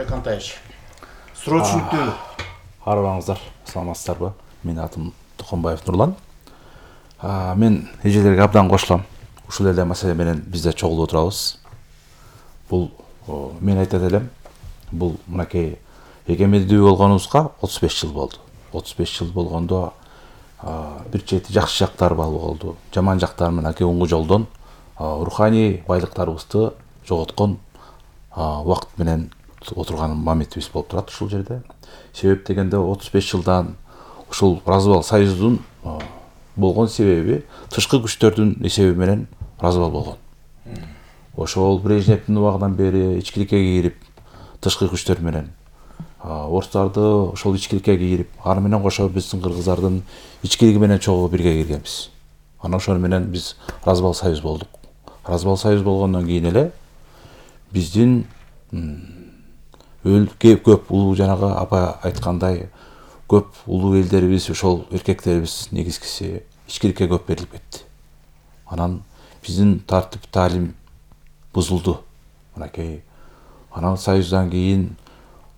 Айбек Кантаевич. Суроо түшүнүктүүбү? Арыбаңыздар, саламатсыздарбы? Менин атым Тукумбаев Нурлан. Мен эжелерге абдан кошулам. Ушул эле маселе менен бизде чогулуп отурабыз. Бул мен айтат элем, бул мынакей эгемендүү болгонубузга 35 жыл болду. 35 жыл болгондо бир чети жакшы жактары болду. Жаман жактары мынакей оңгу жолдон руханий байлыктарыбызды жоготкон убакыт менен отурган моментибиз болуп турат ушул жерде. Себеп дегенде 35 жылдан ушул Разыбал Союздун болгон себеби тышкы күчтөрдүн эсеби менен Разыбал болгон. Ошол Брежневдин убагынан бери ичкиликке кирип, тышкы күчтөр менен орустарды ошол ичкиликке кирип, аны менен кошо биздин кыргыздардын ичкилиги менен чогуу бирге киргенбиз. Анан ошол менен биз Разыбал Союз болдук. Разыбал Союз болгондон кийин эле биздин көп улуу жанагы апа айткандай көп улуу элдерибиз, ошол эркектерибиз негизгиси ичкиликке көп берилип кетти. Анан биздин тартип таалим бузулду. Мынакей анан Союздан кийин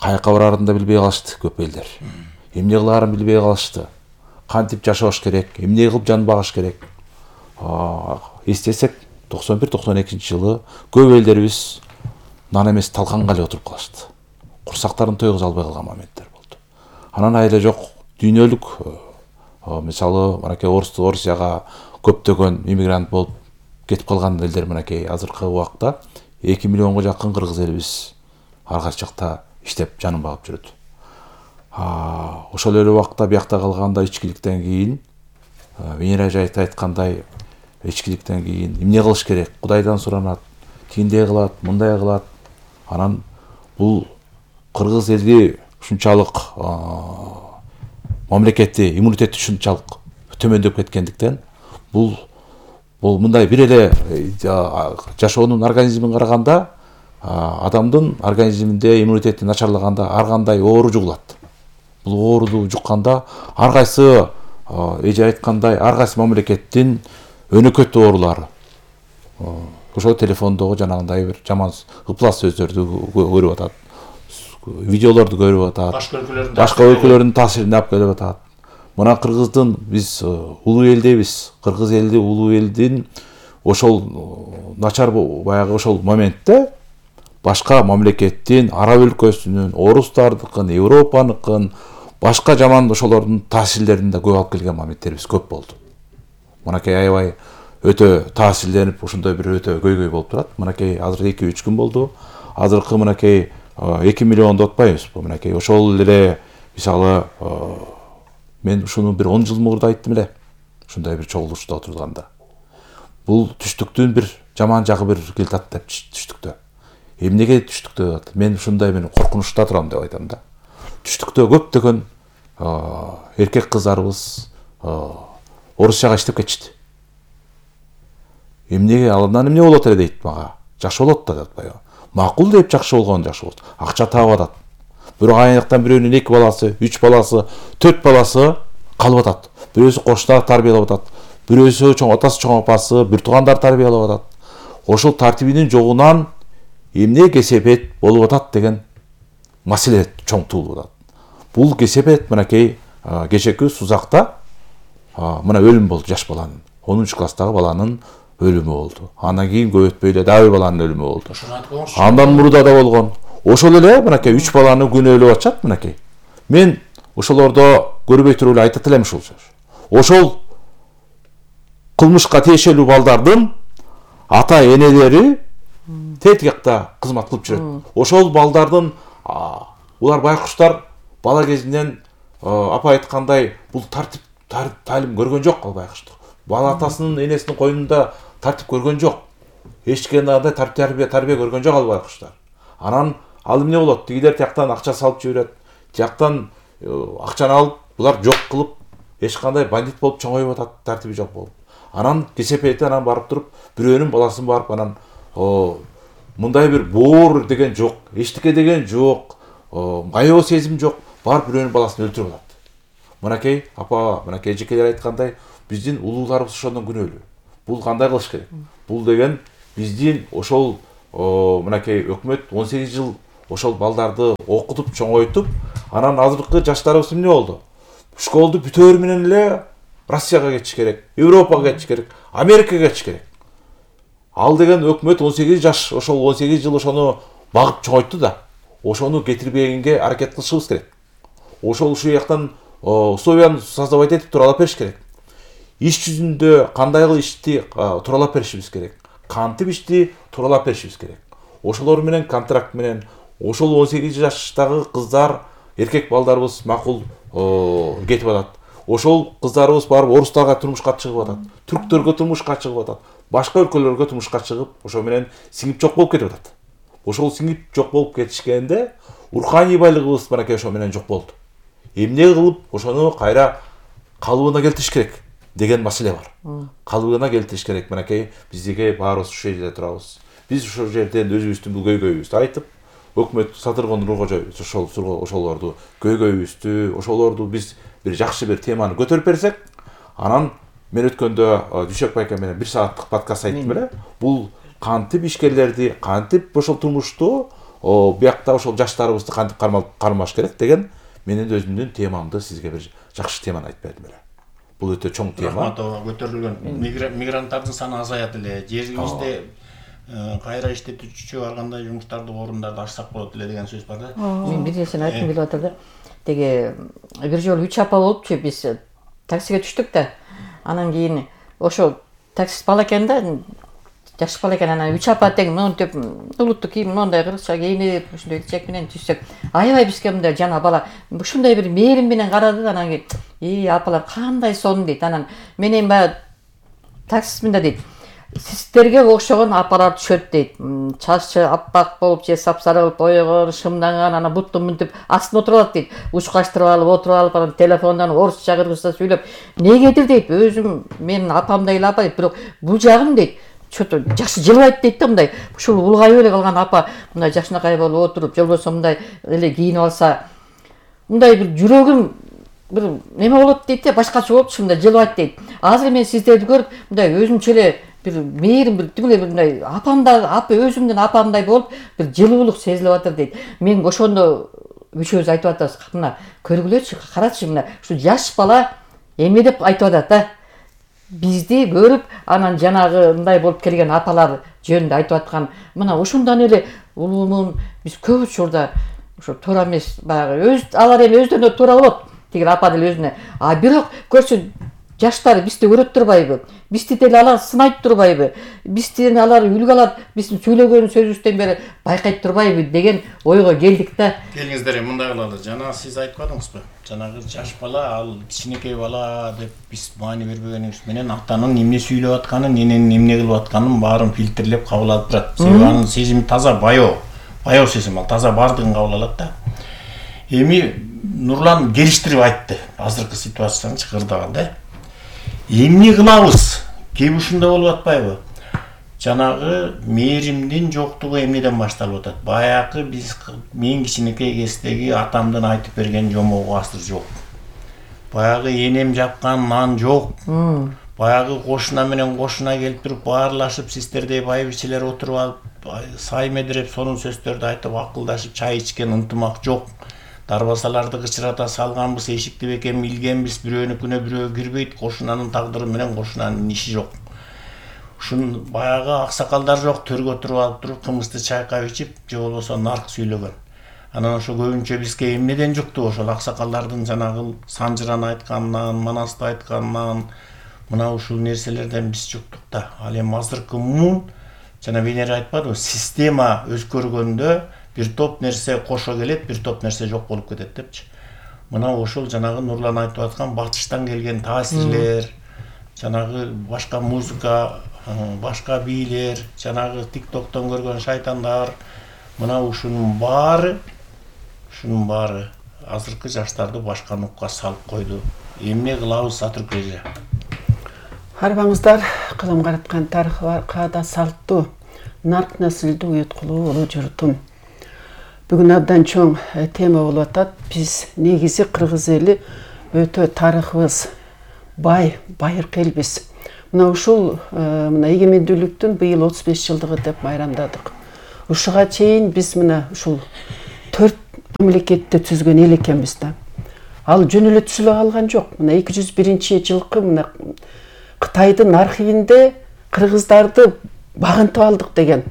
каяка барарын да билбей калышты көп элдер. Эмне кылаарын билбей калышты. Кантип жашаш керек, эмне кылып жан багыш керек. Эстесек 91-92 жылы көп элдерибиз нан эмес талканга эле отуруп калышты. Курсактарын тойгуза албай калган моменттер болду. Анан айла жок дүйнөлүк мисалы мынакей Орусияга көптөгөн иммигрант болуп кетип калган элдер мынакей азыркы убакта 2 миллионго жакын кыргыз элибиз ар кайсы жакта иштеп жанын багып жүрөт. Ошол эле убакта биякта калганда ичкиликтен кийин Венера айткандай ичкиликтен кийин эмне кылыш керек? Кудайдан суранат, тиндей кылат, мындай кылат. Анан бул кыргыз элди ушунчалык мамлекетти иммунитети ушунчалык төмөндөп кеткендиктен бул мындай бир эле жашоонун организмин караганда адамдын организминде иммунитети начарлаганда ар кандай оору жугулат. Бул ооруду жукканда ар кайсы эже айткандай ар кайсы мамлекеттин өнөкөт оорулары ошол телефондогу жанагындай бир жаман ыплас сөздөрдү көрүп атат, видеолорду көрүп атат, башка өлкөлөрдүн таасирин алып келип атат. Мына кыргыздын биз улуу элдебиз, кыргыз элди улуу элдин ошол начар баягы ошол моментте башка мамлекеттин, араб өлкөсүнүн, орустардыкын, Европаныкын, башка жаман ошолордун таасирлерин да көп алып келген моменттерибиз көп болду. Мынакей аябай өтө таасирленип, ушундай бир өтө көйгөй болуп турат. Мынакей азыр 2-3 күн болду. Азыркы мынакей 2 миллионду отпайбызбы? Мынакей ошол эле мисалы мен ушуну бир 10 жыл мурда айттым эле. Ушундай бир чогулушта отурганда. Бул түштүктүн бир жаман жагы бир келтат деп түштүктө. Эмнеге түштүктө? Мен ушундай мен коркунучта турам деп айтам да. Түштүктө көптөгөн эркек кыздарыбыз Орусияга иштеп кетишти. Эмнеге алардан эмне болот эле дейт мага. Жакшы болот да атпайбы. Макул деп жакшы болгон жакшы болот. Акча таап атат. Бирок айнактан бирөөнүн 2 баласы, 3 баласы, 4 баласы калып атат. Бирөөсү кошуна тарбиялап атат. Бирөөсү чоң атасы, чоң апасы, бир туугандар тарбиялап атат. Ошол тартибинин жогунан эмне кесепет болуп атат деген маселе чоң туулуп атат. Бул кесепет мынакей кечеки Сузакта мына өлүм болду жаш баланын. 10 класстагы баланын өлүмү болду. Андан кийин көп өтпөй эле дагы баланын өлүмү болду. Андан мурда да болгон. Ошол эле мынакей 3 баланы күнөөлөп атышат мынакей. Мен ошолордо көрбөй туруп эле айтат элем ушул сөз. Ошол кылмышка тиешелүү балдардын ата энелери тетикакта кызмат кылып жүрөт. Ошол балдардын улар байкуштар бала кезинен апа айткандай бул тартип таалим көргөн жок ал байкуштар. Бала атасынын энесинин койнунда тартип көргөн жок. Эчкенде тарбия көргөн жок ал байкуштар. Анан ал эмне болот? Тигилер тияктан акча салып жиберет. Тияктан акчаны алып, булар жок кылып, эч кандай бандит болуп чоңоюп атат, тартиби жок болуп. Анан кесепети анан барып туруп, бирөөнүн баласын барып анан мындай бир боор деген жок, эчтеке деген жок, аяоо сезим жок, барып бирөөнүн баласын өлтүрүп атат. Мынакей апа, мынакей эжекелер айткандай, биздин улууларыбыз ошондон күнөөлүү. Бул кандай кылыш керек? Бул деген биздин ошол мынакей өкмөт 18 жыл ошол балдарды окутуп чоңойтуп, анан азыркы жаштарыбыз эмне болду? Школду бүтөөр менен эле Россияга кетиш керек, Европага кетиш керек, Америкага кетиш керек. Ал деген өкмөт 18 жаш, ошол 18 жыл ошону багып чоңойтты да. Ошону кетирбегенге аракет кылышыбыз керек. Ошол ушул жактан условияны создавать этип туралап бериш керек. Иш жүзүндө кандай ишти туралап беришибиз керек. Кантип ишти туралап беришибиз керек. Ошолор менен контракт менен ошол 18 жаштагы кыздар, эркек балдарыбыз макул кетип атат. Ошол кыздарыбыз барып орустарга турмушка чыгып атат, түрктөргө турмушка чыгып атат, башка өлкөлөргө турмушка чыгып, ошо менен сиңип жок болуп кетип атат. Ошол сиңип жок болуп кетишкенде руханий байлыгыбыз баракей ошо менен жок болду. Эмне кылып ошону кайра калыбына келтириш керек деген маселе бар. Калыбына келтириш керек. Баракей биздиги баарыбыз ушул жерде турабыз. Биз ошол жерден өзүбүздүн бул көйгөйүбүздү айтып, өкмөт Садыргон Нуркожоевич ошолорду көйгөйүбүздү, ошолорду биз бир жакшы бир теманы көтөрүп берсек, анан мен өткөндө Дүйшөк байке менен 1 сааттык подкаст айттым эле. Бул кантип ишкерлерди, кантип ошол турмушту, биякта ошол жаштарыбызды кантип кармаш керек деген менин өзүмдүн темамды сизге бир жакшы теманы айтып бердим эле. Бул өтө чоң тема. Көтөрүлгөн мигранттардын саны азаят эле. Жерибизде кайра иштетүүчү ар кандай жумуштарды, орундарды ачсак болот эле деген сөз бар да. Мен бир нерсени айткым келип атыр да. Деги бир жолу 3 апа болупчу, биз таксиге түштүк да. Анан кийин ошо таксист бала экен да, жаш бала экен. Анан 3 апа тең монтип улуттук кийим, мондай кыргызча кийинип, ушундай чек менен түшсөк, аябай бизге мындай жана бала ушундай бир мээрим менен карады да. Анан кийин апалар кандай сонун дейт. Анан менен баягы таксист мында дейт. Сиздерге окшогон апалар түшөт дейт. Чачы аппак болуп, же сапсары кылып боёгон, шымданган, анан бутту мынтип астына отуруп алат дейт. Учкаштырып алып, отуруп алып, анан телефондон орусча кыргызча сүйлөп, негедир дейт. Өзүм менин апамдай эле апа дейт, бирок бул жагым дейт. Чото жакшы жылбайт дейт да, мындай. Ушул улгайып эле калган апа мындай жакшынакай болуп отуруп, же болбосо мындай эле кийинип алса, мындай бир жүрөгүм бир неме болот дейт да, башкача болупчу, мындай жылбайт дейт. Азыр мен сиздерди көрүп, мындай өзүмчө эле бир мээрим, бир тимеле бир мындай апамда, апа өзүмдүн апамдай болуп, бир жылуулук сезилип атыр дейт. Мен ошондо үчөөбүз айтып атабыз, мына көргүлөчү, карачы, мына ушу жаш бала эмне деп айтып атат да. Бизди көрүп, анан жанагы мындай болуп келген апалар жөнүндө айтып аткан. Мына ошондон эле улуумун биз көп учурда ошо туура эмес, баягы алар эми өздөрүнө туура болот, тиги апа деле өзүнө. А бирок көрсө жаштар бизди көрөт турбайбы? Бизди деле алар сынайт турбайбы? Бизден алар үлгү алат, биздин сүйлөгөн сөзүбүздөн бери байкайт турбайбы деген ойго келдик да. Келиңиздер, мындай кылалы. Жана сиз айтпадыңызбы? Жанагы жаш бала, ал кичинекей бала деп биз маани бербегенибиз менен атанын эмне сүйлөп атканын, эненин эмне кылып атканын баарын фильтрлеп кабыл алып турат. Себеби анын сезими таза баяу сезим, ал таза бардыгын кабыл алат да. Эми Нурлан келиштирип айтты азыркы ситуацияны чакырдаган да. Эмне кылабыз? Кеп ушундай болуп атпайбы? Жанагы мээримдин жоктугу эмнеден башталып атат? Баягы мен кичинекей кездеги атамдын айтып берген жомогу азыр жок. Баягы энем жапкан нан жок. Баягы кошуна менен кошуна келип туруп баарлашып, сиздердей байбичелер отуруп алып, сай медиреп сонун сөздөрдү айтып, акылдашып чай ичкен ынтымак жок. Дарбазаларды кычырата салганбыз, эшикти бекем илгенбиз, бирөөнүкүнө бирөө кирбейт, кошунанын тагдыры менен кошунанын иши жок. Ушун баягы аксакалдар жок, төргө туруп алып туруп кымызды чайкап ичип, же болбосо нарк сүйлөгөн. Анан ошо көбүнчө бизге эмнеден жукту? Ошол аксакалдардын жанагы Санжыран айтканынан, Манасты айтканынан, мына ушул нерселерден биз жуктук да. Ал эми азыркы муун, жана Венера айтпадыбы, система өзгөргөндө бир топ нерсе кошо келет, бир топ нерсе жок болуп кетет депчи. Мына ошол жанагы Нурлан айтып аткан батыштан келген таасирлер, жанагы башка музыка, башка бийлер, жанагы тиктоктон көргөн шайтандар, мына ушунун баары азыркы жаштарды башка нукка салып койду. Эмне кылабыз, Атүрк эже? Арбаңыздар, кылым караткан тарыхы бар, каада салттуу, нарк наслдуу уюткулуу улуу журтум. Бүгүн абдан чоң тема болуп атат. Биз негизи кыргыз эли өтө тарыхыбыз бай, байыркы элбиз. Мына ушул эгемендүүлүктүн быйыл 35 жылдыгы деп майрамдадык. ушуга чейин биз мына ушул 4 мамлекетти түзгөн эл экенбиз да. Ал жөн эле түзүлө калган жок. Мына 201-жылкы мына Кытайдын архивинде кыргыздарды багынтып алдык деген.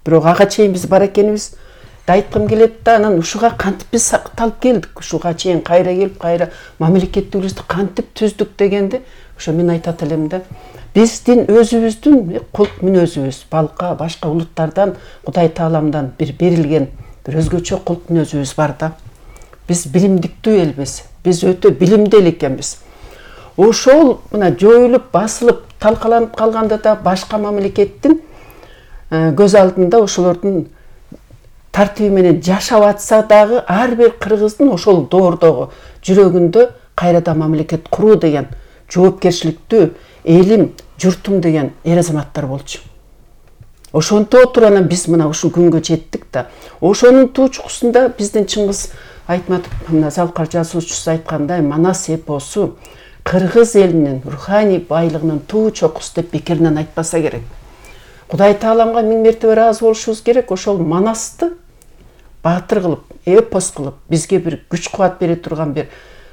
Бирок ага чейин биз бар экенибиз да айткым келет да, анан ушуга кантип биз сакталып келдик, ушуга чейин кайра келип, кайра мамлекеттүүлүктү кантип түздүк дегенди ошо мен айтат элем да. Биздин өзүбүздүн кулк мүнөзүбүз балка башка улуттардан Кудай Тааламдан бир берилген бир өзгөчө кулк мүнөзүбүз бар да. Биз билимдиктүү элбиз. Биз өтө билимдүү эл экенбиз. Ошол мына жоюлуп, басылып, талкаланып калганда да башка мамлекеттин көз алдында ошолордун тартиби менен жашап атса дагы ар бир кыргыздын ошол доордогу жүрөгүндө кайрадан мамлекет куруу деген жоопкерчиликтүү элим, журтум деген эр азаматтар болчу. Ошонто туруп анан биз мына ушул күнгө жеттик да. Ошонун туу чукусунда биздин Чыңгыз Айтматов мына Залкар жазуучусу айткандай Манас эпосу кыргыз элинин руханий байлыгынын туу чокусу деп бекеринен айтпаса керек. Кудай Тааламга миң мертебе ыраазы болушубуз керек. Ошол Манасты баатыр кылып, эпос кылып, бизге бир күч кубат бере турган бир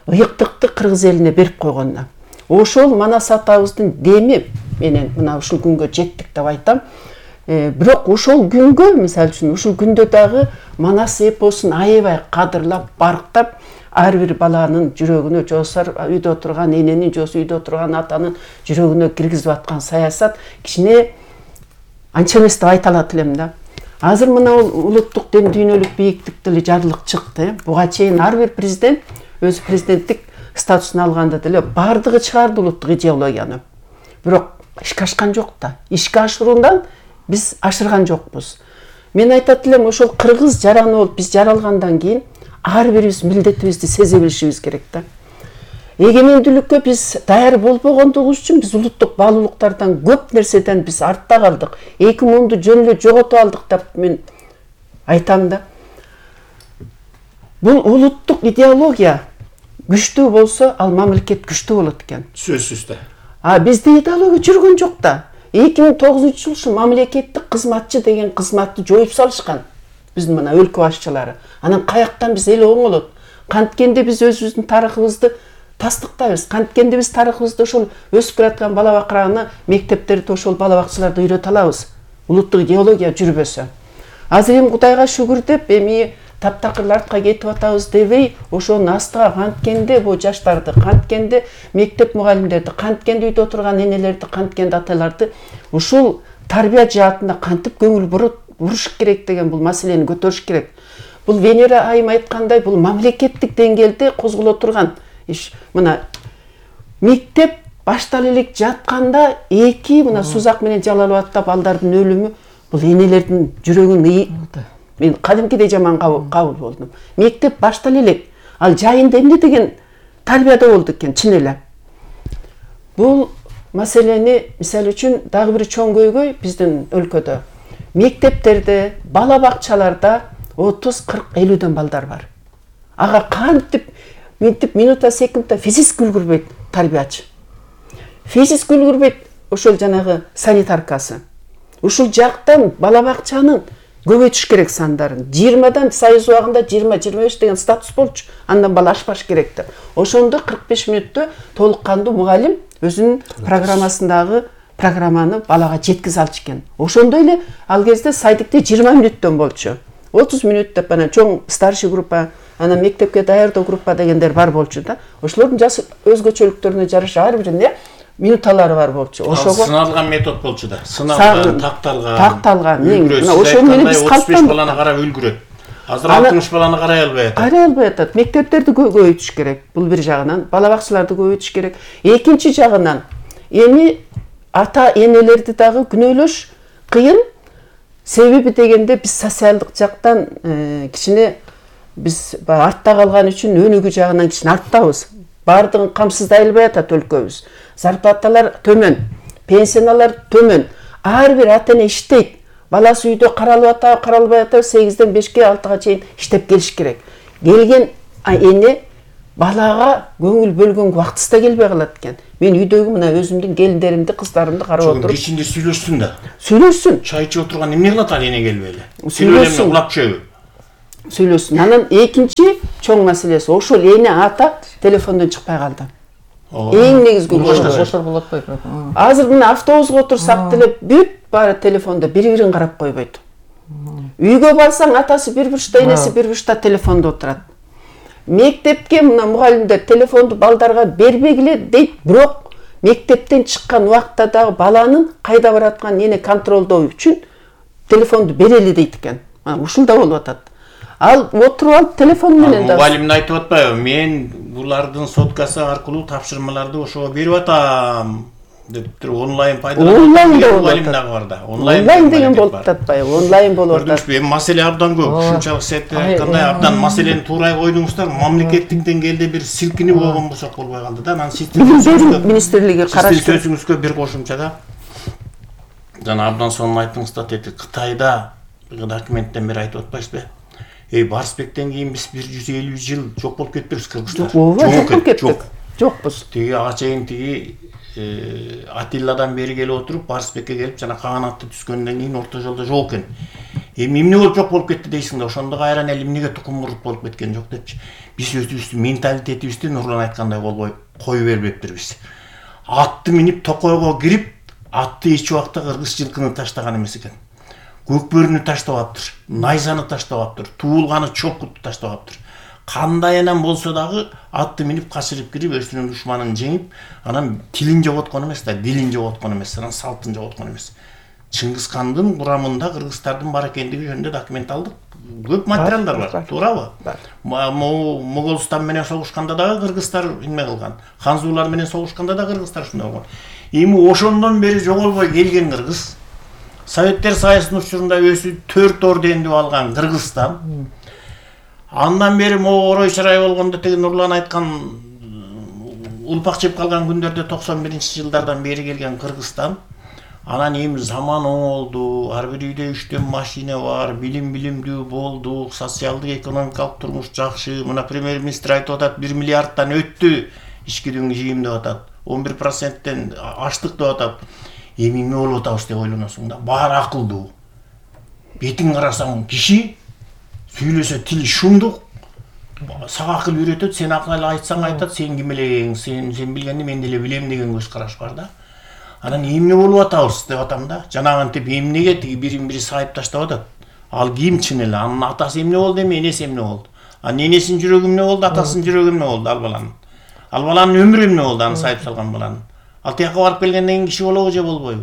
ыйыктыкты кыргыз элине берип койгонуна. Ошол Манас атабыздын деми менен мына ушул күнгө жеттик деп айтам. Бирок ошол күнгө, мисалы үчүн, ушул күндө дагы Манас эпосун аябай кадырлап, барктап, ар бир баланын жүрөгүнө, жоосар үйдө отурган эненин, жоосу үйдө отурган атанын жүрөгүнө киргизип аткан саясат кичине анча эмес деп айта алат элем да. Азыр мына улуттук дем дүйнөлүк бийиктикте эле жарлык чыкты. Буга чейин ар бир президент өзү президенттик статусун алганда деле бардыгы чыгарды улуттук идеологияны. Бирок ишке ашкан жок да. Ишке ашыруудан биз ашырган жокпуз. Мен айтат элем, ошол кыргыз жараны болуп биз жаралгандан кийин ар бирибиз милдетибизди сезе билишибиз керек да. Эгемендүүлүккө биз даяр болбогондугубуз үчүн биз улуттук баалуулуктардан көп нерседен биз артта калдык. 2010-ду жөн эле жоготуп алдык деп мен айтам да. Бул улуттук идеология күчтүү болсо, ал мамлекет күчтүү болот экен. Сөзсүз да. Бизде идеология жүргөн жок да. 2009-жылы ушул мамлекеттик кызматчы деген кызматты жоюп салышкан. Биздин мына өлкө башчылары. Анан каяктан биз эл оңолот? Канткенде биз өзүбүздүн тарыхыбызды тастыктайбыз. Канткенде биз тарыхыбызды ошол өсүп келаткан бала бакыраны мектептерде ошол бала бакчаларда үйрөтө алабыз. Улуттук идеология жүрбөсө. Азыр эми Кудайга шүгүр деп эми таптакыр артка кетип атабыз дебей, ошонун астыга канткенде бу жаштарды, канткенде мектеп мугалимдерди, канткенде үйдө отурган энелерди, канткенде аталарды ушул тарбия жаатында кантип көңүл буруш керек деген бул маселени көтөрүш керек. Бул Венера айым айткандай, бул мамлекеттик деңгээлде козголо турган иш. Мына мектеп баштала элек жатканда эки мына Сузак менен Жалалабадда балдардын өлүмү бул энелердин жүрөгүн мен кадимкидей жаман кабыл болдум. Мектеп баштала элек, ал жайында эмне деген тарбияда болду экен, чын эле. Бул маселени мисалы үчүн дагы бир чоң көйгөй биздин өлкөдө. Мектептерде, бала бакчаларда 30-40 50дөн балдар бар. Ага кантип минута секундта физически үлгүрбөйт тарбиячы. Физически үлгүрбөйт ошол жанагы санитаркасы. Ушул жактан бала бакчанын көбөйтүш керек сандарын. 20дан Союз убагында 20-25 деген статус болчу. Андан бала ашпаш керек деп. Ошондо 45 мүнөттө толук кандуу мугалим өзүнүн программасындагы программаны балага жеткизе алчу экен. Ошондой эле ал кезде садикте 20 мүнөттөн болчу. 30 мүнөт деп анан чоң старший группа, анан мектепке даярдоо группа дегендер бар болчу да. Ошолордун жаш өзгөчөлүктөрүнө жараша ар биринде минуталары бар болчу. Ошого сыналган метод болчу да. Сыналган, такталган. Мына ошол менен биз 35 баланы карап үлгүрөт. Азыр 60 баланы карай албай атат. Карай албай атат. Мектептерди көбөйтүш керек. Бул бир жагынан, бала бакчаларды көбөйтүш керек. Экинчи жагынан эми ата энелерди дагы күнөөлөш кыйын. Себеби дегенде биз социалдык жактан кичине биз артта калган үчүн өнүгүү жагынан кичине арттабыз. Бардыгын камсыздай албай атат өлкөбүз. Зарплаталар төмөн, пенсиялар төмөн. Ар бир ата эне иштейт. Баласы үйдө каралып атабы, каралбай атабы 8ден 5ке 6га чейин иштеп келиш керек. Келген эне балага көңүл бөлгөнгө убактысы да келбей калат экен. Мен үйдөгү мына өзүмдүн келиндеримди, кыздарымды карап отуруп. Кичинде сүйлөшсүн да. Сүйлөшсүн. Чай ичип отурган эмне кылат ал эне келип эле? Сүйлөшсүн. Улап чөбү. Сүйлөшсүн. Анан экинчи чоң маселеси ошол эне ата телефондон чыкпай калды. Эң негизги ошол болот го. Азыр мына автобуска отурсак деле бүт баары телефондо бири-бирин карап койбойт. Үйгө барсаң атасы бир бурчта, энеси бир бурчта телефондо отурат. Мектепке мына мугалимдер телефонду балдарга бербегиле дейт, бирок мектептен чыккан убакта дагы баланын кайда баратканын эне контролдоо үчүн телефонду берели дейт экен. Ушул да болуп атат. Ал отуруп алып телефон менен да. Мугалим айтып атпайбы? Мен булардын соткасы аркылуу тапшырмаларды ошого берип атам деп туруп онлайн пайдаланып мугалим дагы бар да. Онлайн деген болуп атпайбы? Онлайн болуп атат. Эми маселе абдан көп. Ушунчалык сетте айткандай абдан маселени туура койдуңуздар. Мамлекеттик деңгээлде бир силкинип болгон болсок болбой калды да. Анан Билим министрлиги караш керек. Сөзүңүзгө бир кошумча да. Жана абдан сонун айттыңыз да, Кытайда документтен бери айтып атпайсызбы? Барсбектен кийин биз 150 жыл жок болуп кетпейбиз кыргыздар. Жок кеттик. Жокпуз. Тиги ага чейин Атилладан бери келип отуруп, Барсбекке келип, жана каганатты түзгөндөн кийин орто жолдо жок экен. Эмне болуп жок болуп кетти дейсиң да, ошондо кайран эле эмнеге тукум курут болуп кеткен жок депчи. Биз өзүбүздүн менталитетибизди Нурлан айткандай кое бербептирбиз. Атты минип токойго кирип, атты эч убакта кыргыз жылкыны таштаган эмес экен. Көкбөрүнү таштабаптыр, найзаны таштабаптыр, туулганы чопкутту таштабаптыр. Кандай анан болсо дагы атты минип качырып кирип, өзүнүн душманын жеңип, анан тилин жоготкон эмес да, дилин жоготкон эмес, анан салтын жоготкон эмес. Чыңгыз хандын курамында кыргыздардын бар экендиги жөнүндө документ алдык. Көп материалдар бар, туурабы? Моголстан менен согушканда дагы кыргыздар эме кылган. Ханзулар менен согушканда да кыргыздар ушундай болгон. Эми ошондон бери жоголбой келген кыргыз, Советтер Союзунун учурунда өзү 4 орденди алган Кыргызстан. Андан бери могу орой чырай болгондо теги Нурлан айткан улпак жеп калган күндөрдө 91-жылдардан бери келген Кыргызстан. Анан эми заман оңолду, ар бир үйдө 3 машина бар, билимдүү болду, социалдык экономикалык турмуш жакшы. Мына премьер-министр айтып атат, 1 миллиардтан өттү ички дүң жыйым деп атат. 11%тен аштык деп атат. Эми эмне болуп атабыз деп ойлоносуң да. Баары акылдуу. Бетиң карасаң киши сүйлөсө тили шумдук. Сага акыл үйрөтөт, сен акыл айтсаң айтат, сен ким элең, сен билгенди мен деле билем деген көз караш бар да. Анан эмне болуп атабыз деп атам да. Жанагынтип эмнеге тиги бирин-бири сайып таштап атат. Ал ким чын эле? Анын атасы эмне болду эми, энеси эмне болду? Анын энесинин жүрөгү эмне болду, атасынын жүрөгү эмне болду ал баланын? Ал баланын өмүрү эмне болду, аны сайып салган баланын? Ал тияка барып келгенден кийин киши болобу же болбойбу?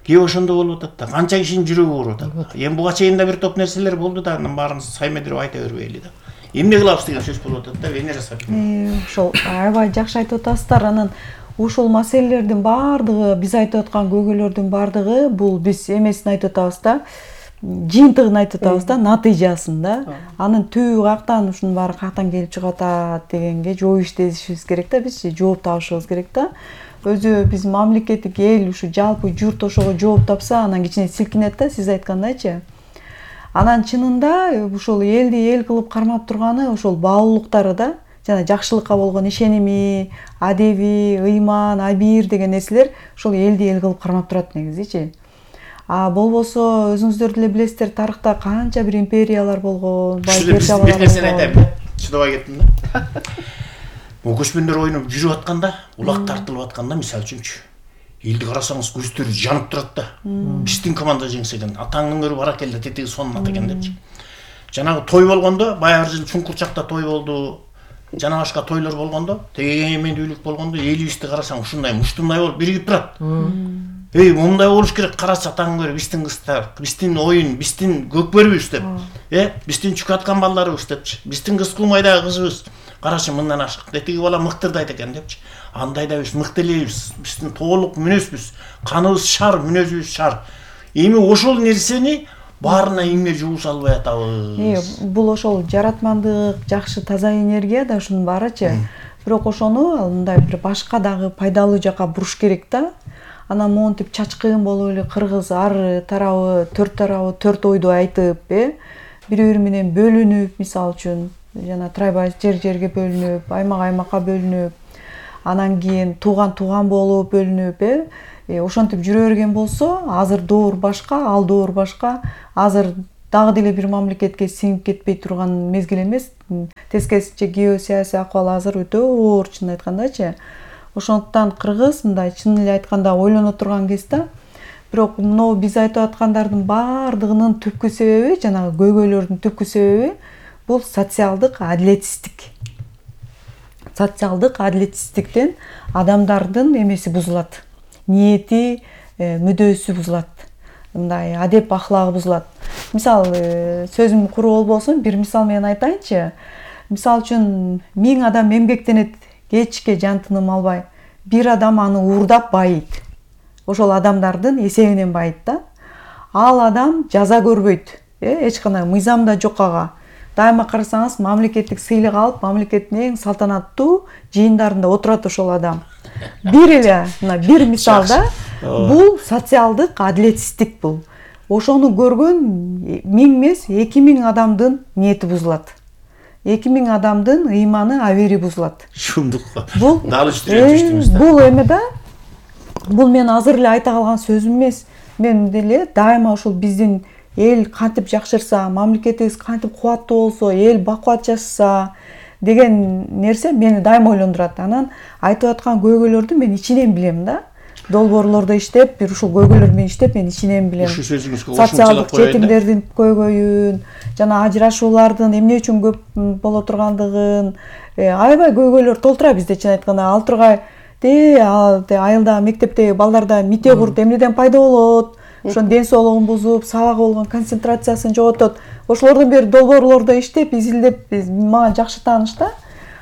Кээ ошондо болуп атат да. Канча кишинин жүрөгү ооруп атат. Эми буга чейин да бир топ нерселер болду да, анын баарын саймедирип айта бербейли да. Эмне кылабыз деген сөз болуп атат да, Венера Сапин. Ошол аябай жакшы айтып атасыздар. Анан ушул маселелердин баардыгы, биз айтып аткан көйгөйлөрдүн баардыгы бул биз эмесин айтып атабыз да, жыйынтыгын айтып атабыз да, натыйжасын да. Анын түбү кактан, ушунун баары кактан келип чыгып атат дегенге жооп иштешибиз керек да, биз жооп табышыбыз керек да. Өзү биз мамлекеттик эл, ушу жалпы журт ошого жооп тапса, анан кичине силкинет да, сиз айткандайчы. Анан чынында ушул элди эл кылып кармап турганы ошол баалуулуктары да, жана жакшылыкка болгон ишеними, адеби, ыйман, абийир деген нерселер ошол элди эл кылып кармап турат негизичи. Болбосо өзүңүздөр деле билесиздер, тарыхта канча бир империялар болгон, бир нерсени айтайын. Чыдабай кеттим да. Көчмөндөр оюнуп жүрүп атканда, улак тартылып атканда, мисалы үчүнчү, элди карасаңыз көздөрү жанып турат да. Биздин команда жеңсе экен, атаңдын көрү бар экен да, тетиги сонун ат экен депчи. Жанагы той болгондо, баягы жыл Чуңкурчакта той болду, жана башка тойлор болгондо, тегемендүүлүк болгондо, элибизди карасаң ушундай муштундай болуп биригип турат. Мындай болуш керек, карачы атаңдын көрү, биздин кыздар, биздин оюн, биздин көкбөрүбүз деп. Биздин чүкө аткан балдарыбыз депчи. Биздин кыз кулмайдагы кызыбыз. Карачы мындан ашык. Тетиги бала мыктырдайт экен депчи. Андай да биз мыкты элебиз. Биздин толук мүнөзбүз. Каныбыз шар, мүнөзүбүз шар. Эми ошол нерсени баарына эмне жуу салбай атабыз. Бул ошол жаратмандык, жакшы таза энергия да ушунун баарычы. Бирок ошону мындай бир башка дагы пайдалуу жака буруш керек да. Анан монтип чачкын болуп эле кыргыз ары тарабы, төрт ойду айтып, бири-бири менен бөлүнүп, мисалы үчүн жана трайбай жерге бөлүнүп, аймакка бөлүнүп, анан кийин тууган болуп бөлүнүп, ошентип жүрө берген болсо, азыр доор башка, ал доор башка. Азыр дагы деле бир мамлекетке сиңип кетпей турган мезгил эмес. Тескерисинче геосаясий акыбал азыр өтө оор, чын айткандачы. Ошондуктан кыргыз мындай чын эле айтканда ойлоно турган кез да. Бирок мынау биз айтып аткандардын баардыгынын түпкү себеби, жанагы көйгөйлөрдүн түпкү себеби бул социалдык адилетсиздик. Социалдык адилетсиздиктен адамдардын эмеси бузулат. Ниети, мүдөөсү бузулат. Мындай адеп ахлагы бузулат. Мисал, сөзүм куруу болбосун, бир мисал менен айтайынчы. Мисал үчүн 1000 адам эмгектенет, кечке жан тыным албай. Бир адам аны уурдап байыйт. Ошол адамдардын эсебинен байыйт да. Ал адам жаза көрбөйт. Эч кандай мыйзам да жок ага. Дайыма карасаңыз, мамлекеттик сыйлык алып, мамлекеттин эң салтанаттуу жыйындарында отурат ошол адам. Бир эле, бир мисалда бул социалдык адилетсиздик бул. Ошону көргөн 1000 эмес, 2000 адамдын ниети бузулат. 2000 адамдын ыйманы, абери бузулат. Шумдук. Бул бул эме да. Бул мен азыр эле айта калган сөзүм эмес. Мен деле дайыма ошол биздин эл кантип жакшырса, мамлекетибиз кантип кубаттуу болсо, эл бакубат жашаса деген нерсе мени дайыма ойлондурат. Анан айтып аткан көйгөйлөрдү мен ичинен билем да. Долбоорлордо иштеп, бир ушул көйгөйлөр менен иштеп, мен ичинен билем. Социалдык жетимдердин көйгөйүн, жана ажырашуулардын эмне үчүн көп боло тургандыгын, аябай көйгөйлөр толтура бизде, чын айтканда. Ал тургай айылда, мектепте балдарда мите курт эмнеден пайда болот? Ошон ден соолугун бузуп, сабакка болгон концентрациясын жоготот. Ошолордон бери долбоорлордо иштеп, изилдеп, мага жакшы тааныш да.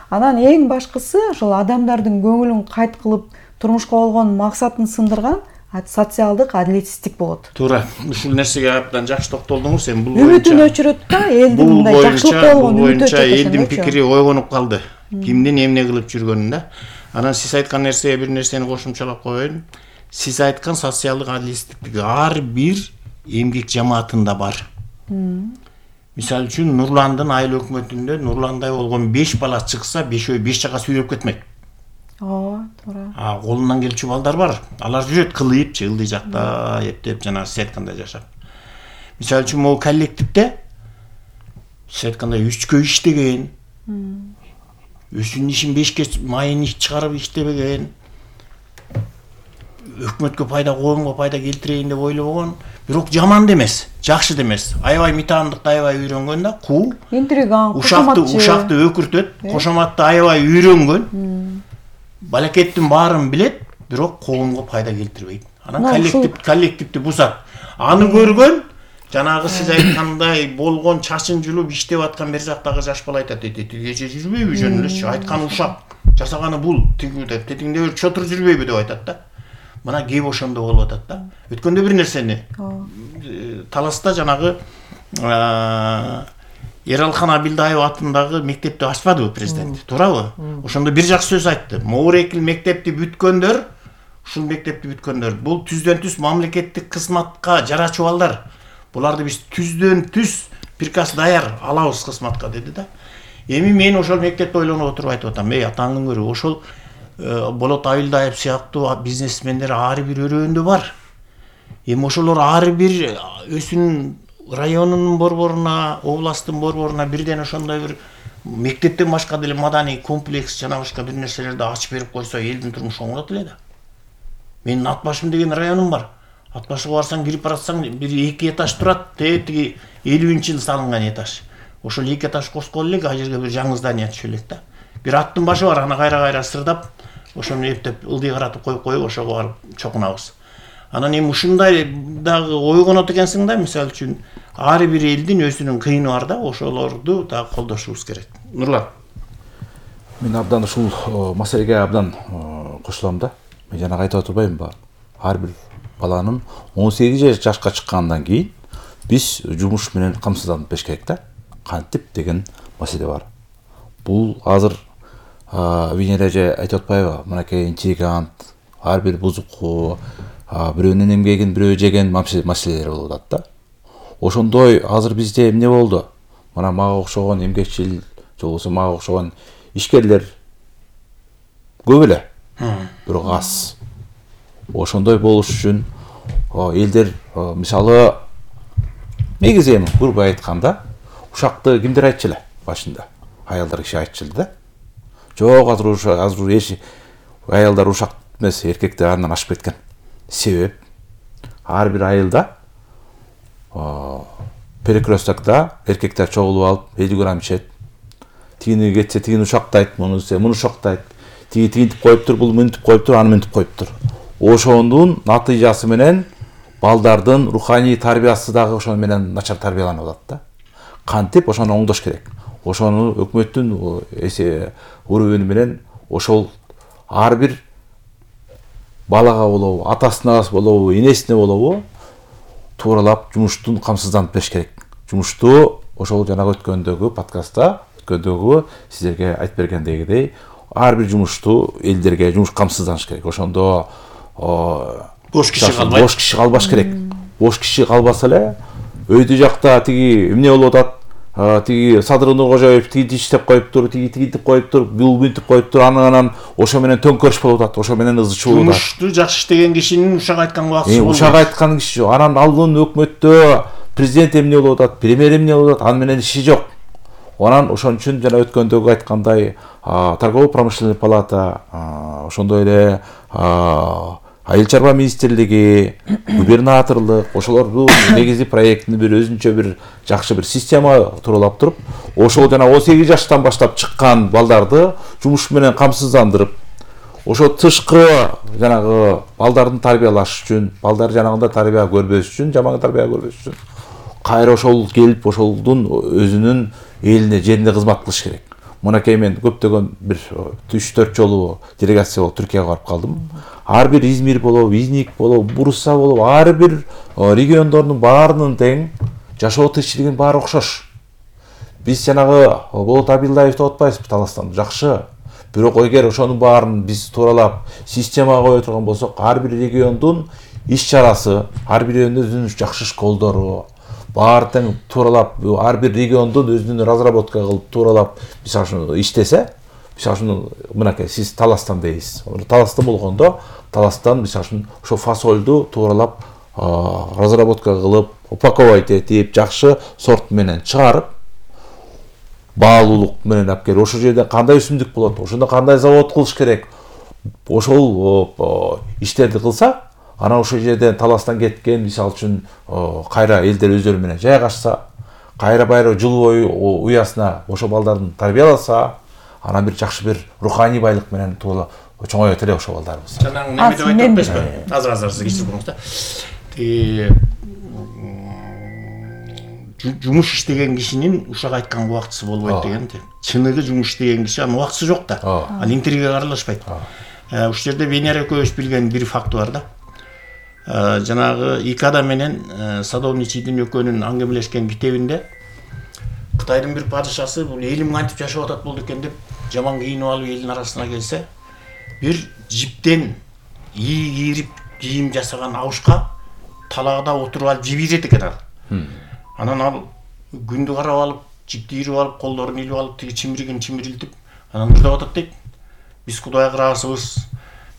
Анан эң башкысы ошол адамдардын көңүлүн кайт кылып, турмушка болгон максатын сындырган социалдык адилетсиздик болот. Туура. Ушул нерсеге абдан жакшы токтолдуңуз. Эми бул үмүтүн өчүрөт да, элдин мындай жакшылыкка болгон үмүтү өчүрөт. Элдин пикири ойгонуп калды. Кимдин эмне кылып жүргөнүн да. Анан сиз айткан нерсеге бир нерсени кошумчалап коеюн. Сиз айткан социалдык адилетсиздик ар бир эмгек жамаатында бар. Мисалы үчүн Нурландын айыл өкмөтүндө Нурландай болгон 5 бала чыкса, 5 жака сүйрөп кетмек. Туура. Колунан келчү балдар бар. Алар жүрөт кылыйып, ылдый жакта эптеп жана сиз айткандай жашап. Мисалы үчүн могу коллективде сиз айткандай 3кө иштеген, өзүнүн ишин 5ке майын чыгарып иштебеген, өкмөткө пайда, коомго пайда келтирейин деп ойлобогон, бирок жаман да эмес, жакшы да эмес. Аябай митандыкты аябай үйрөнгөн да, куу, интриган, кошоматчы, өкүртөт, кошоматты аябай үйрөнгөн. Балакеттин баарын билет, бирок коомго пайда келтирбейт. Анан коллективди бузат. Аны көргөн, жанагы сиз айткандай болгон чачын жулуп иштеп аткан бер жактагы жаш бала айтат, кече жүрбөйбү жөн элечи, айтканы ушак, жасаганы бул, тетиңде бир чотур жүрбөйбү деп айтат да. Мына кеп ошондо болуп атат да. Өткөндө бир нерсени Таласта жанагы Эралхан Абилдаев атындагы мектепти ачпадыбы президент, туурабы? Ошондо бир жакшы сөз айтты. Моорекил мектепти бүткөндөр, ушул мектепти бүткөндөр, бул түздөн түз мамлекеттик кызматка жарачу балдар. Буларды биз түздөн түз приказ даяр алабыз кызматка деди да. Эми мен ошол мектепти ойлонуп отуруп айтып атам, атаңын көрү, ошол Болот Абилдаев сыяктуу бизнесмендер ар бир өрөөндө бар. Эми ошолор ар бир өзүнүн районунун борборуна, областтын борборуна бирден ошондой бир мектептен башка деле маданий комплекс жана башка бир нерселерди ачып берип койсо, элдин турмушу оңолот эле да. Менин Ат башым деген районум бар. Ат башыга барсаң, кирип баратсаң, бир 2 этаж турат, тиги 50-жылы салынган этаж. Ошол 2 этаж коскон элек, ал жерге бир жаңы здание түшө элек да. Бир аттын башы бар, аны кайра сырдап, ошону эптеп ылдый каратып коюп, ошого барып чокунабыз. Анан эми ушундай дагы ойгонот экенсиң да, мисалы үчүн ар бир элдин өзүнүн кыйыны бар да, ошолорду дагы колдошубуз керек. Нурлан. Мен абдан ушул маселеге абдан кошулам да. Мен жана айтып атпаймынбы? Ар бир баланын 18 жашка чыккандан кийин биз жумуш менен камсызданып бериш керек да. Кантип деген маселе бар. Бул азыр Венера эже айтып атпайбы? Мынакей интригант, ар бир бузуку, бирөөнүн эмгегин бирөө жеген маселелер болуп атат да. Ошондой азыр бизде эмне болду? Мына мага окшогон эмгекчил же болбосо мага окшогон ишкерлер көп эле, бирок аз. Ошондой болуш үчүн элдер мисалы негизи эми грубо айтканда ушакты кимдер айтчу эле башында? Аялдар киши айтчу эле да. Жок, азыр аялдар ушак эмес, эркектер андан ашып кеткен. Себеп ар бир айылда перекрестокто эркектер чогулуп алып 50 грамм ичет. Тигини кетсе тигини ушактайт, муну ушактайт. Тиги тигинтип коюптур, бул мынтип коюптур, аны мынтип коюптур. Ошондун натыйжасы менен балдардын руханий тарбиясы дагы ошону менен начар тарбияланып атат да. Кантип ошону оңдош керек. Ошону өкмөттүн урубуну менен ошол ар бир балага болобу, атасына болобу, энесине болобу тууралап жумуштун камсызданып бериш керек. Жумушту ошол жанагы өткөндөгү подкастта, өткөндөгү сиздерге айтып бергендегидей, ар бир жумушту элдерге жумуш камсызданыш керек. Ошондо бош киши калбаш керек. Бош киши калбаса эле өйдө жакта тиги эмне болуп атат? Тиги Садыр Нуркожоев тиги иштеп коюптур, тиги тигинтип коюптур, бул мынтип коюптур, анан ошо менен төңкөрүш болуп атат, ошо менен ызы чуу болуп атат. Жумушту жакшы иштеген кишинин ушак айткан убактысы болбойт. Ушак айткан киши, анан алдын өкмөттө президент эмне болуп атат, премьер эмне болуп атат, аны менен иши жок. Анан ошон үчүн жана өткөндөгү айткандай, торгово-промышленный палата, ошондой эле айыл чарба министрлиги, губернаторлук, ошолордун негизи проектини бир өзүнчө бир жакшы бир система туралап туруп, ошол жана 18 жаштан баштап чыккан балдарды жумуш менен камсыздандырып, ошо тышкы жанагы балдардын тарбиялаш үчүн, балдар жанагындай тарбия көрбөш үчүн, жаман тарбия көрбөш үчүн кайра ошол келип ошолдун өзүнүн элине, жерине кызмат кылыш керек. Мынакей мен көптөгөн бир 3-4 жолу делегация болуп Түркияга барып калдым. Ар бир Измир болобу, Изник болобу, Бурса болобу, ар бир региондордун баарынын тең жашоо тиричилигинин баары окшош. Биз жанагы Болот Абилдаевди отпайбызбы Таластан, жакшы. Бирок эгер ошонун баарын биз тууралап системага кое турган болсок, ар бир региондун иш-чарасы, ар бир өзүнүн жакшы школдору, баары тең тууралап, ар бир региондун өзүнүн разработка кылып тууралап мисалы үчүн иштесе, мисалы үчүн мынакей сиз Таластан дейсиз. Таластан болгондо, Таластан мисалы үчүн ошо фасолду тууралап разработка кылып, упаковать этип, жакшы сорт менен чыгарып, баалуулук менен алып келип, ошол жерде кандай өсүмдүк болот, ошондо кандай завод кылыш керек, ошол иштерди кылса, анан ошол жерден Таластан кеткен мисалы үчүн кайра элдер өздөрү менен жайгашса, кайра байра жыл бою уясына ошо балдардын тарбияласа, анан бир жакшы бир руханий байлык менен туула чоңоет эле ошол балдарыбыз. Жанагы неме деп айтып атпайсызбы? Азыр сиз кечирип коюңуз да. Жумуш иштеген кишинин ушак айткан убактысы болбойт деген. Чыныгы жумуш иштеген киши анын убактысы жок да. Ал интервьюга аралашпайт. Ушул жерде Венера экөөбүз билген бир факты бар да. Жанагы Икада менен Садовничийдин экөөнүн аңгемелешкен китебинде Кытайдын бир падышасы бул элим кантип жашап атат болду экен деп жаман кийинип алып элдин арасына келсе, бир жиптен ийи кийирип кийим жасаган абышка талагда отуруп алып жеп ийет экен ал. Анан ал күндү карап алып, жипти ийирип алып, колдорун илип алып, тиги чимиригин чимирилтип, анан ырдап атат дейт. Биз Кудайга ыраазыбыз.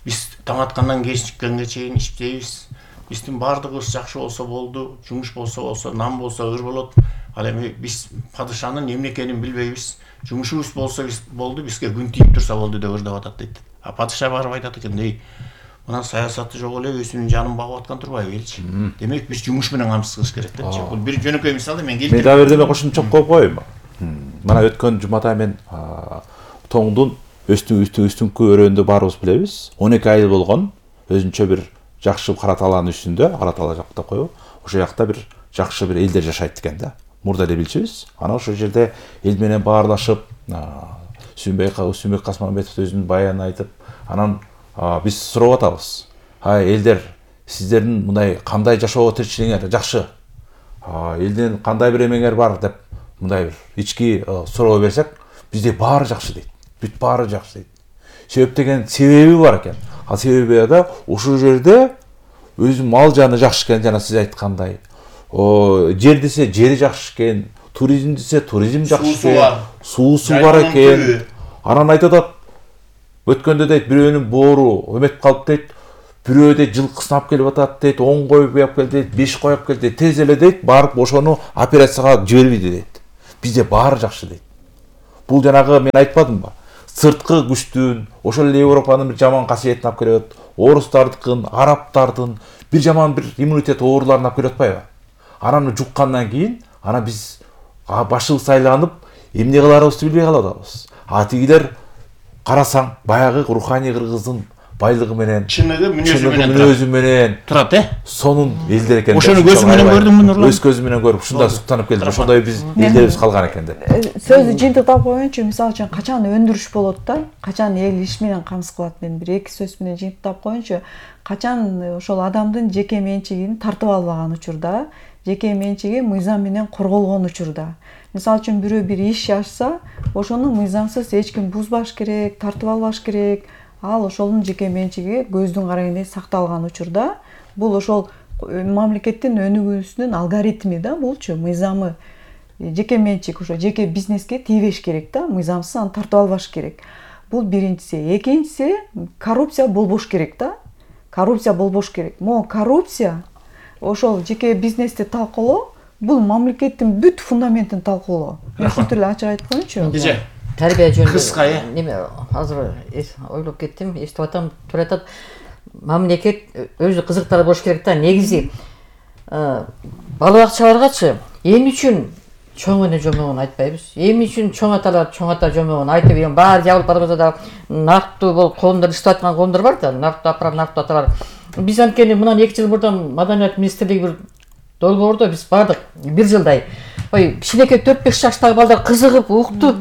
Биз таң аткандан кечиккенге чейин иштейбиз. Биздин баардыгыбыз жакшы болсо болду, жумуш болсо, нам болсо ыр болот. Ал эми биз падышанын эмне экенин билбейбиз. Жумушубуз болсо болду, бизге күн тийип турса болду деп ырдап атат дейт. А падыша барып айтат экен, "Ей, мына саясатты жок эле өзүнүн жанын багып аткан турбайбы элчи?" Демек биз жумуш менен камсыз кылыш керек депчи. Бул бир жөнөкөй мисал мен келтирип. Мен дагы бирдеме кошумча коюп коеюнбу? Мына өткөн жумада мен тоңдун үстүңкү өрөөндө баарыбыз билебиз. 12 айыл болгон, өзүнчө бир жакшы кара талаанын үстүндө, кара тала жакта коюп, ошол жакта бир жакшы бир элдер жашайт экен да. Мурда эле билчүбүз. Анан ошол жерде эл менен баарлашып, Сүмбек Касманбетов өзүнүн баянын айтып, анан биз сурап атабыз. Элдер, сиздердин мындай кандай жашоо тиричилигиңер жакшы? Элдин кандай бир эмеңер бар деп мындай бир ички суроо берсек, бизде баары жакшы дейт. Бүт баары жакшы дейт. Себеп деген себеби бар экен. Ал себеби да ошол жерде өзү мал жаны жакшы экен, жана сиз айткандай. Жер десе жери жакшы экен, туризм десе туризм жакшы экен, суусу бар Жайланып экен. түбү. Анан айтып атат, өткөндө дейт бирөөнүн боору өмөт калып дейт, бирөө дейт жылкысын алып келип атат дейт, 10 кой алып кел дейт, 5 кой алып кел дейт, тез эле дейт барып ошону операцияга жибербейди дейт. Бизде баары жакшы дейт. Бул жанагы мен айтпадымбы? Сырткы күчтүн, ошол эле Европанын бир жаман касиетин алып келет, орустардыкын, арабтардын бир жаман бир иммунитет ооруларын алып келип атпайбы? Ананы жуккандан кийин, ана биз башыбыз айланып, эмне кыларыбызды билбей калып атабыз. Тигилер карасаң, баягы руханий кыргыздын байлыгы менен, Чыныгы мүнөзү менен мүнөзү менен турат, сонун элдер экен. Ошону көзү менен көрдүңбү, Нурлан? Өз көзү менен көрүп, ушундай суктанып келдим. Ошондой биз элдерибиз калган экен деп. Сөздү жыйынтыктап коеюнчу, мисалы үчүн качан өндүрүш болот да, качан эл иш менен камсыз кылат, мен бир эки сөз менен жыйынтыктап коеюнчу. Качан ошол адамдын жеке менчигин тартып албаган учурда, жеке менчиги мыйзам менен корголгон учурда. Мисалы үчүн бирөө бир иш ачса, ошону мыйзамсыз эч ким бузбаш керек, тартып албаш керек. Ал ошонун жеке менчиги көздүн карайындай сакталган учурда, бул ошол мамлекеттин өнүгүүсүнүн алгоритми да, булчу мыйзамы. Жеке менчик ошо жеке бизнеске тийбеш керек да, мыйзамсыз аны тартып албаш керек. Бул биринчиси. Экинчиси, коррупция болбош керек да. Коррупция болбош керек. Могу коррупция ошол жеке бизнести талкуулоо, бул мамлекеттин бүт фундаментин талкуулоо. Мен ушинтип эле ачык айтып коеюнчу. Биже Тарбия жөнүндө кыска неме азыр ойлоп кеттим, эстип атам, тура айтат, мамлекет өзү кызыктар болуш керек да. Негизи бала бакчаларгачы эмне үчүн чоң эне жомогун айтпайбыз? Эмне үчүн чоң аталар чоң ата жомогун айтып, эми баары жабылып барбаса да нактуу бул коомдор иштеп аткан коомдор бар да, нактуу апрар, нактуу аталар. Биз анткени мындан 2 жыл мурдан Маданият министрлиги бир долбоордо биз бардык 1 жылдай. Ой, кичинекей 4-5 жаштагы балдар кызыгып, укту.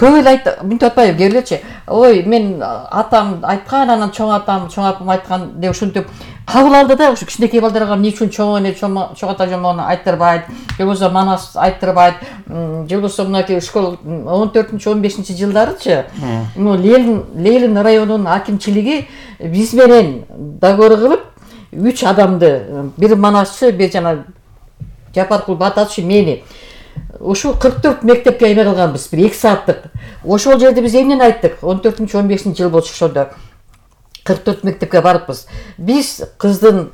Көп эле мынтип атпайбы, келгилечи. Ой, мен атам айткан, анан чоң атам, чоң апам айткан деп ушинтип кабыл алды да, ушу кичинекей балдарга эмне үчүн чоң эне, чоң ата жомогун айттырбайт, же болбосо манас айттырбайт, же болбосо мынакей школ 14-15 жылдарычы, Ленин районунун акимчилиги биз менен договор кылып, 3 адамды, бир манасчы, бир жана Жапаркул Бататчы, мени ошо 44 мектепке эме кылганбыз, бир 2 сааттык. Ошол жерде биз эмнени айттык? 14-15 жыл болчу ошондо. 44 мектепке барыппыз. Биз кыздын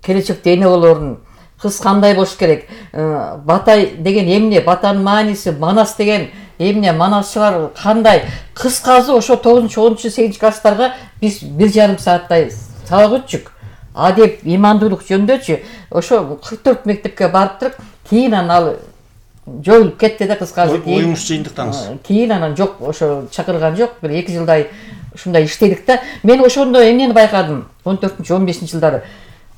келечекте эне болорун, кыз кандай болуш керек? Батай деген эмне? Батанын мааниси, манас деген эмне? Манасчылар кандай? Кыскасы ошо 9-10-8 класстарга биз 1,5 сааттай сабак өтчүк. Адеп, имандуулук жөндөчү ошо 44 мектепке барып туруп, кийин анан жоюлуп кетти да, кыскасы. Оюңуз жыйынтыктаңыз. Кийин анан жок, ошо чакырган жок, бир 2 жылдай ушундай иштедик да. Мен ошондо эмнени байкадым? 14-15 жылдары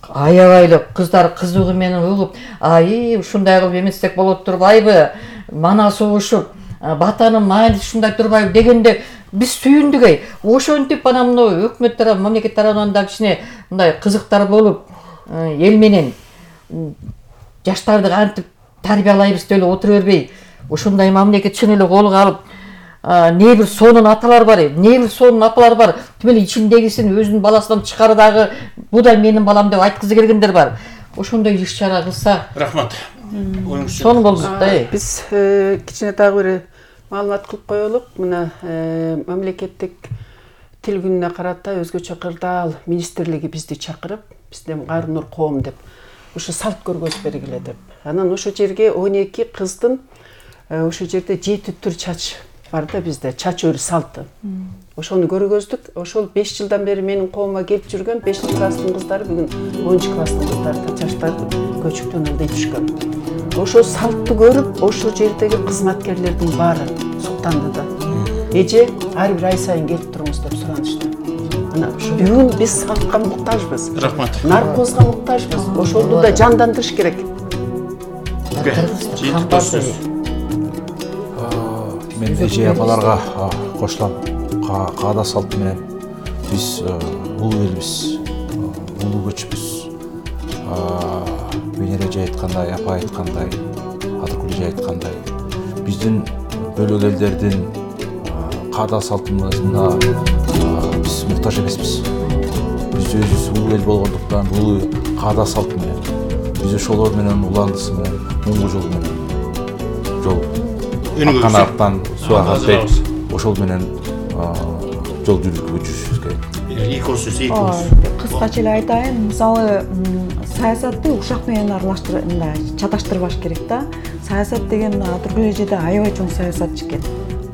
аябай эле кыздар кызыгуу менен угуп, ушундай кылып эместек болот турбайбы? Манас угушуп, батанын мааниси ушундай турбайбы дегенде биз сүйүндүк. Ошентип анан мына өкмөт тарабы, мамлекет тарабынан да кичине мындай кызыктар болуп, эл менен жаштарды кантип тарбиялайбыз деп эле отура бербей, ошондой мамлекет чын эле колго алып, не бир сонун аталар бар, не бир сонун апалар бар. Тим эле ичиндегисин өзүнүн баласынан чыгары дагы бу да менин балам деп айткызы келгендер бар. Ошондой иш-чара кылса. Рахмат. Сонун болду да. Биз кичине дагы бир маалымат кылып коелук. Мына мамлекеттик тил күнүнө карата өзгөчө кырдаал министрлиги бизди чакырып, бизден Кайры Нур коом деп ошо салт көргөзүп бергиле деп. Анан ошо жерге 12 кыздын ошо жерде 7 түр чач бар да бизде, чач өрү салты. Ошону көргөздүк. Ошол 5 жылдан бери менин коомго келип жүргөн 5-класстын кыздары бүгүн 10-класстын кыздары да жаштар көчүктөн андай түшкөн. Ошо салтты көрүп, ошол жердеги кызматкерлердин баары суктанды да. Эже ар бир ай сайын келип туруңуз деп суранышты. Мына бүгүн биз салтка муктажбыз. Рахмат. Наркозго муктажбыз. Ошолду да жандандырыш керек. Мен эже апаларга кошулам. Каада салт менен биз улуу элбиз, улуу көчпүз. Венера эже айткандай, апа айткандай, Адыркүл эже айткандай, биздин бөлөк элдердин каада салтыбызына биз муктаж эмеспиз. Биз өзүбүз улуу эл болгондуктан улуу каада салт менен биз ошолор менен уландысы менен муңгу жол менен жол Өнүгөбүз. аккан арыктан суу агат дейт. Ажырабыз. Ошол менен жол жүрүшүбүз керек. Экосүз. Кыскача эле айтайын, мисалы саясатты ушак менен чаташтырбаш керек да. Саясат деген тургу эрежеде аябай чоң саясатчы экен.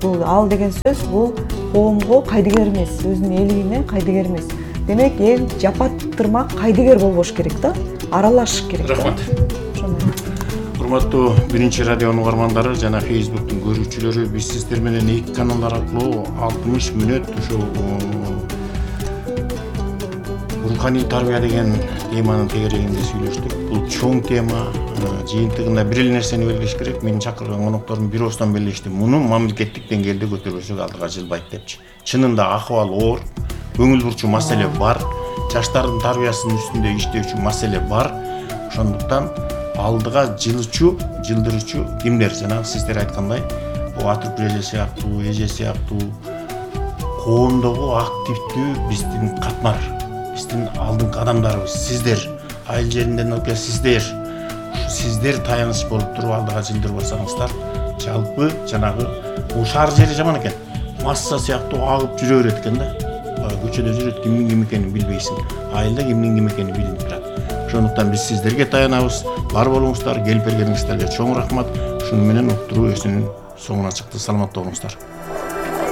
Бул ал деген сөз бул коомго кайдыгер эмес, өзүнүн элине кайдыгер эмес. Демек эл жапаттырмак кайдыгер болбош керек да, аралашыш керек да. Рахмат. Урматтуу биринчи радионун угармандары жана Facebook'тун көрүүчүлөрү, биз сиздер менен эки каналдар аркылуу 60 мүнөт ушул руханий тарбия деген теманын тегерегинде сүйлөштүк. Бул чоң тема, жыйынтыгында бир эле нерсени белгилеш керек. Менин чакырган коноктордун бир ооздан белгилешти. Муну мамлекеттик деңгээлде көтөрбөсөк алдыга жылбайт депчи. Чынында акыбал оор, көңүл бурчу маселе бар, жаштардын тарбиясынын үстүндө иштөөчү маселе бар. Ошондуктан алдыга жылдырчу кимдер? Жанагы сиздер айткандай, бул Атыркүл эже сыяктуу, эже сыяктуу коомдогу активдүү биздин катмар, биздин алдыңкы адамдарыбыз, сиздер, айыл жеринден окуя сиздер таяныч болуп туруп алдыга жылдырбасаңыздар, жалпы жанагы бул шаар жери жаман экен. Масса сыяктуу агып жүрө берет экен да. Көчөдө жүрөт, кимдин ким экенин билбейсиң. Айылда кимдин ким экени билинип турат. Ошондуктан биз сиздерге таянабыз. Бар болуңуздар, келип бергениңиздерге чоң рахмат. Ушуну менен уктуруу өзүнүн соңуна чыкты. Саламатта болуңуздар.